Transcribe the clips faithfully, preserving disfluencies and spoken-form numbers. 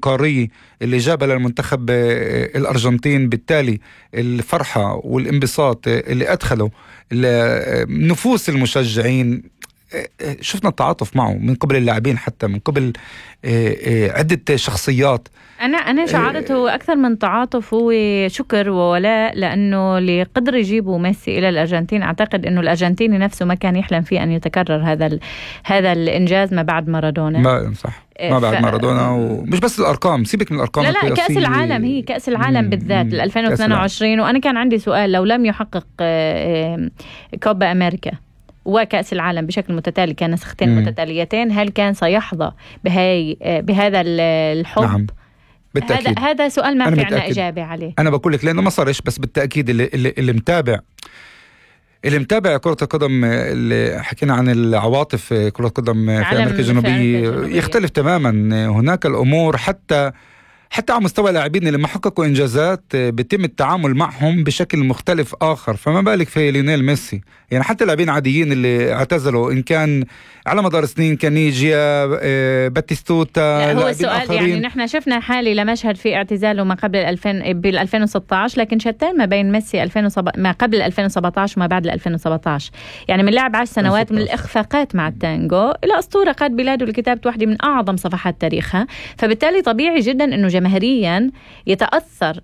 قارية اللي جابها للمنتخب الأرجنتين. بالتالي الفرحة والانبساط اللي أدخله نفوس المشجعين، شفنا التعاطف معه من قبل اللاعبين، حتى من قبل عدة شخصيات. أنا أنا شعرته أكثر من تعاطف هو شكر وولاء، لأنه اللي قدر يجيبوا ميسي إلى الأرجنتين أعتقد إنه الأرجنتيني نفسه ما كان يحلم فيه أن يتكرر هذا هذا الإنجاز ما بعد مارادونا. ما صح ما بعد ف... مارادونا، ومش بس الأرقام، سيبك من الأرقام. لا لا كأس العالم، هي كأس العالم بالذات ألفين واثنين وعشرين. وأنا كان عندي سؤال، لو لم يحقق كوبا أمريكا وكأس العالم بشكل متتالي، كان نسختين مم. متتاليتين، هل كان سيحظى بهاي بهذا الحب؟ نعم. بالتأكيد. هذا هذا سؤال ما في عنا إجابة عليه. أنا بقول لك لأنه ما صارش، بس بالتأكيد اللي, اللي, اللي متابع اللي متابع كرة القدم، اللي حكينا عن العواطف كرة القدم في أمريكا الجنوبية يختلف تماما. هناك الأمور حتى حتى على مستوى لاعبين اللي ما حققوا إنجازات بيتم التعامل معهم بشكل مختلف آخر، فما بالك في ليونيل ميسي. يعني حتى لاعبين عاديين اللي اعتزلوا، إن كان على مدار سنين، كانيجيا، باتيستوتا، هو السؤال يعني نحن شفنا حالي لمشهد في اعتزاله ما قبل الألفين بال ألفين وستة عشر، لكن شتان ما بين ميسي ألفين وسبعة ما قبل ألفين وسبعة عشر وما بعد ألفين وسبعة عشر. يعني من لعب عشر سنوات من الإخفاقات مع التانجو إلى أسطورة قاد بلاده لكتابة واحدة من أعظم صفحات تاريخها. فبالتالي طبيعي جدا إنه جماهيريا يتأثر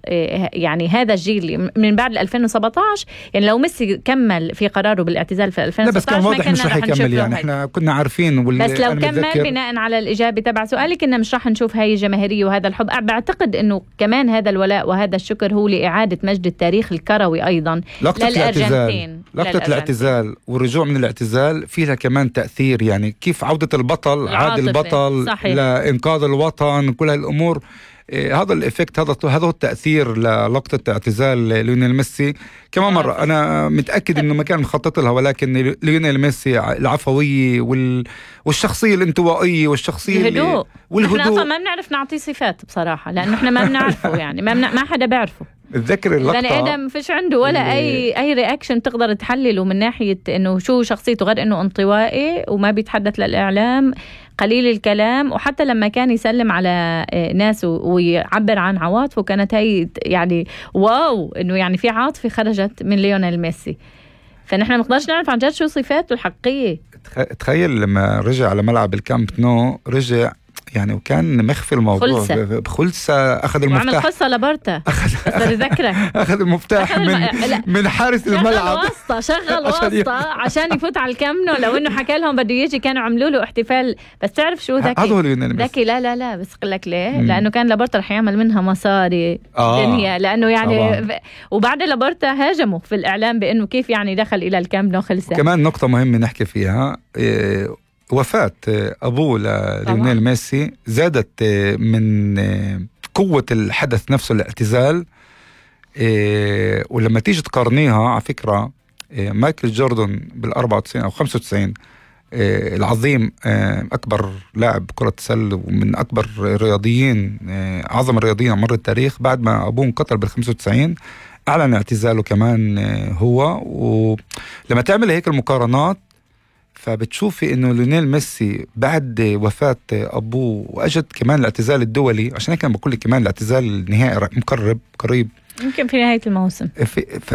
يعني هذا الجيل من بعد ألفين وسبعة عشر. يعني لو ميسي كمل في قراره بالاعتزال في ألفين وستة عشر ما كان مش رح يكمل. يعني احنا كنا عارفين وال... بس لو كمل بناء على الإجابة تبع سؤالك إنه مش رح نشوف هاي الجماهيرية وهذا الحب. بعتقد إنه كمان هذا الولاء وهذا الشكر هو لإعادة مجد التاريخ الكروي أيضا للأرجنتين. لقطة الاعتزال والرجوع من الاعتزال فيها كمان تأثير، يعني كيف عودة البطل، عاد البطل صحيح. لإنقاذ الوطن، كل هالأمور. هذا الإفكت، هذا هذا التأثير للقطة اعتزال ليونيل ميسي. كمان مرة أنا متأكد إنه ما كان مخطط لها، ولكن ليونيل ميسي العفوية وال والشخصية الانطوائية والشخصية الهدوء، والهدوء احنا أصلا ما بنعرف نعطيه صفات بصراحة، لأنه احنا ما بنعرفه. يعني ما, بنا... ما حدا بيعرفه. تذكر اللقطة بني آدم فيش عنده ولا أي أي رياكشن تقدر تحلله من ناحية إنه شو شخصيته، غير إنه انطوائي وما بيتحدث للإعلام، قليل الكلام. وحتى لما كان يسلم على ناس ويعبر عن عواطفه كانت هي يعني واو، إنه يعني في عاطفة خرجت من ليونيل ميسي. فنحن ما نقدرش نعرف عن جد شو صفاته الحقيقية. تخيل لما رجع على ملعب الكامب نو، رجع يعني وكان مخفي الموضوع بخلصة، أخذ المفتاح، وعمل خلصة لبرتا أخذ ذكرك أخذ المفتاح من الم... من حارس الملعب، واسطة شغل واسطة عشان يفوت على الكامنو. لو إنه حكى لهم بده يجي كانوا عملوا له احتفال. بس تعرف شو ذكي ذكي لا لا لا بس قل لك ليه؟ مم. لأنه كان لبرتا رح يعمل منها مصاري آه. دنيا، لأنه يعني طبعا. وبعد لبرتا هاجموا في الإعلام بأنه كيف يعني دخل إلى الكامنو خلصة. كمان نقطة مهمة نحكي فيها، إيه وفاة أبوه لليونيل ميسي زادت من قوة الحدث نفسه الاعتزال. ولما تيجي تقارنيها على فكرة، مايكل جوردن بالأربعة وتسعين أو خمسة وتسعين العظيم، أكبر لاعب كرة سلة ومن أكبر الرياضيين، أعظم الرياضيين مر التاريخ، بعد ما أبوه انقتل بالخمسة وتسعين أعلن اعتزاله كمان هو. ولما تعمل هيك المقارنات فبتشوفي انه ليونيل ميسي بعد وفاة ابوه واجد كمان الاعتزال الدولي، عشان هيك انا بقول لك كمان الاعتزال النهائي مقرب قريب يمكن في نهاية الموسم.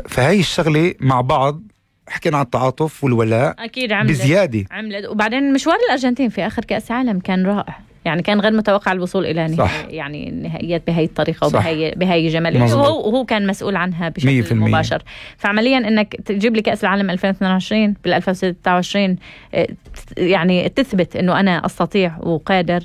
فهي الشغلة مع بعض حكينا عن التعاطف والولاء اكيد عملت بزيادة عملت. وبعدين مشوار الارجنتين في اخر كأس عالم كان رائع، يعني كان غير متوقع الوصول الى نهاية يعني النهائيات بهي الطريقه وبهي بهي جماليه، وهو وهو كان مسؤول عنها بشكل مباشر. فعمليا انك تجيب لي كاس العالم ألفين واثنين وعشرين بال ألفين وستة وعشرين يعني تثبت انه انا استطيع وقادر.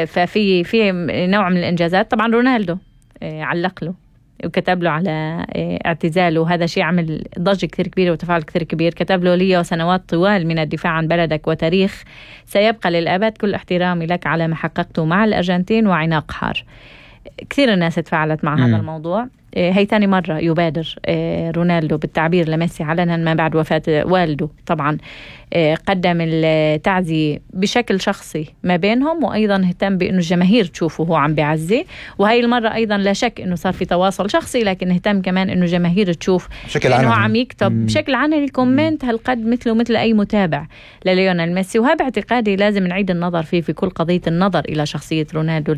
ففي في نوع من الانجازات. طبعا رونالدو علق له وكتب له على اعتزاله، وهذا شيء عمل ضجة كثير كبيرة وتفاعل كثير كبير. كتب له: لي سنوات طوال من الدفاع عن بلدك وتاريخ سيبقى للأبد، كل احترامي لك على ما حققته مع الأرجنتين وعناق حار. كثير الناس تفاعلت مع م. هذا الموضوع. هي تاني مرة يبادر رونالدو بالتعبير لميسي علنا ما بعد وفاة والده. طبعا قدم التعزية بشكل شخصي ما بينهم، وأيضا اهتم بأنه الجماهير تشوفه هو عم بيعزي، وهي المرة أيضا لا شك أنه صار في تواصل شخصي، لكن اهتم كمان أنه جماهير تشوف أنه عم يكتب مم. بشكل عنني كومنت هالقد مثله مثل أي متابع لليونيل ميسي. وهذا باعتقادي لازم نعيد النظر فيه في كل قضية النظر إلى شخصية رونالدو.